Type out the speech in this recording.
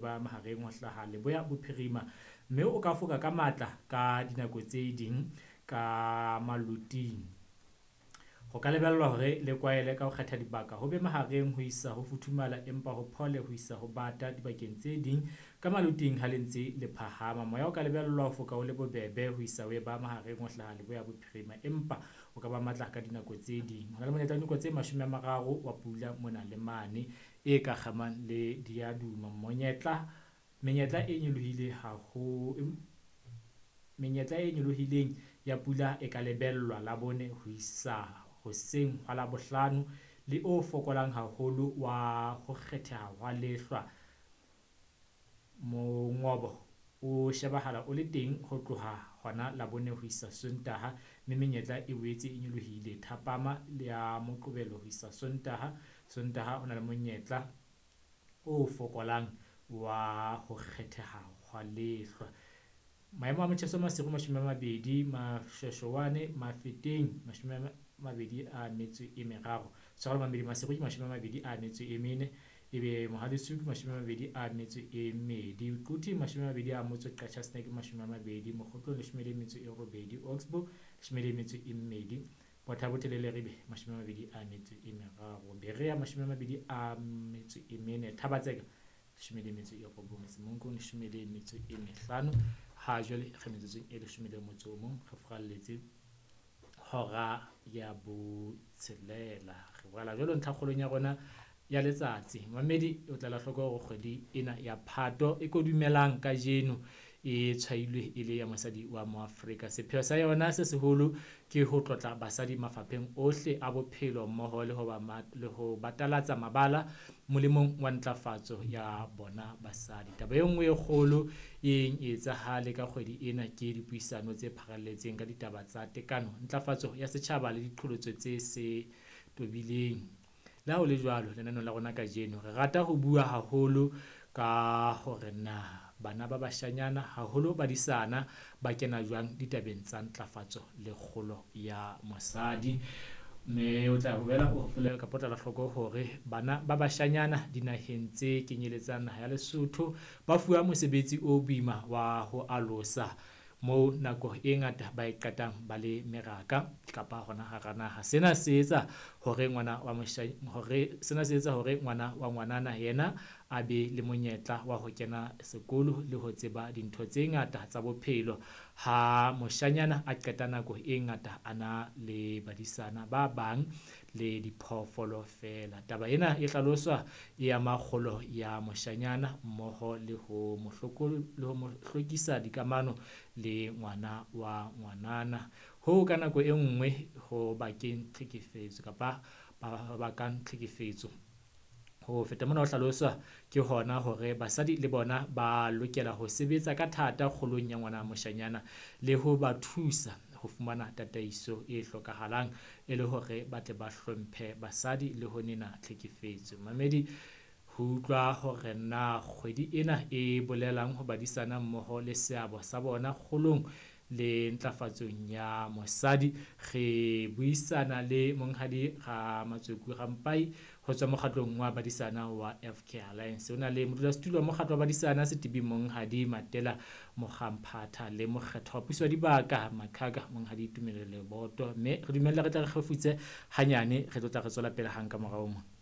Ba mahareng ho hlaha leboya bophirima, mme o ka foka ka matla ka dinako tse ding ka maloting. Ho ka lebellwa hore le kwaele ka ho kgetha dibaka ho be mahareng ho isa ho futhumala empa ho phole ho isa ho bata dibakeng tse ding ka maloting ha le ntse le phahama. Moya o ka lebellwa ho foka o le bobebe ho isa ho eba mahareng ho hlaha leboya bophirima empa o ka ba matla ka dinako tse ding. Ho na le monyetla wa dinako tse 30 wa pula mona le mane e ka kgamang le diaduma. Menyetla e nyolohile haholo. Menyetla e nyolohileng ya pula e ka lebellwa Labone ho isa hoseng hwa Labohlano le o fokolang haholo wa ho kgetheha hwa lehlwa. Mongobo o shebahala o le teng ho tloha hona Labone ho isa Sontaha, mme menyetla e boetse e nyolohile thapama ya Moqebelo ho isa Sontaha. Sontaha ho na le monyetla o fokolang wa ho kgetheha hwa lehlwa. Maemo a motjheso Maseru 20, Moshweshwane Mafeteng 23. Tshwarelo mamedi Maseru ke 24, ebe Mohale's Hoek 22, Quthing 20, Qacha's Nek 20, Mokhotlong 18, Oxbow 12, Botha Bothe le Leribe 23, Berea 24, Thaba-Tseka 19, Semonkong 15. Ha jwale re metsotsong e 11 re furalletse hora ya 6. Re boela jwalo ntlhakgolong ya rona ya letsatsi. Mamedi o tla la hloko hore kgwedi ena ya Phato e kodumelang kajeno e tshwailwe e le ya mosadi wa Moafrika. Sepheo sa yona se seholo ke ho tlotla basadi mafapheng ohle a bophelo mmoho le ho batalatsa mabala molemong wa ntlafatso ya bona basadi. Taba e nngwe e kgolo e yeng e etsahale ka kgwedi ena ke dipuisano tse pharalletseng ka ditaba tsa tekano, ntlafatso ya setjhaba le diqholotso tse se tobileng. Le ha ho le jwalo, lenaneong la rona kajeno re rata ho bua haholo ka hore na bana ba bashanyana haholo badisana ba kena jwang ditabeng tsa ntlafatso le kgolo ya mosadi. Mme o tla boela o hopole kapa o tla la hloko hore bana ba bashanyana dinaheng tse kenyeletsang naha ya Lesotho ba fuwa mosebetsi o boima wa ho alosa moo nako e ngata ba e qetang ba le meraka kapa hona hara naha. Sena se etsa hore ngwana wa hore sena se etsa hore ngwana wa ngwanana yena a be le monyetla wa ho kena sekolo le ho tseba dintho tse ngata tsa bophelo. Ha moshanyana a qeta nako e ngata a na le badisana ba bang le diphoofolo feela. Taba ena e hlaloswa e ama kgolo ya moshanyana mmoho le ho mo hlokisa dikamano le ngwana wa ngwanana. Hoo ka nako e nngwe ho bakeng tlhekefetso kapa ba bakang tlhekefetso. Ho feta mona ho hlaloswa ke hona hore basadi le bona ba lokela ho sebetsa ka thata kgolong ya ngwana moshanyana le ho ba thusa ho fumana tataiso e hlokahalang e le hore ba tle ba hlomphe basadi le ho nena tlhekefetso. Mamedi ho utlwa hore na kgwedi ena e bolelang ho badisana mmoho le seabo sa bona kgolong le ntlafatsong ya mosadi. Re buisana le monghadi Ramatsoku Rampai ho tswa mokgatlong wa badisana wa FK Alliance. O na le modulasetulo wa mokgatlo wa badisana Setibi monghadi Matela Mokgamphatha le mokgetho wa puso ya dibaka Makhaka monghadi Tumelo Leboto. Mme re dumelle re tle re kgefutse hanyane, re tlo tla re tswela pele hang ka morao mona.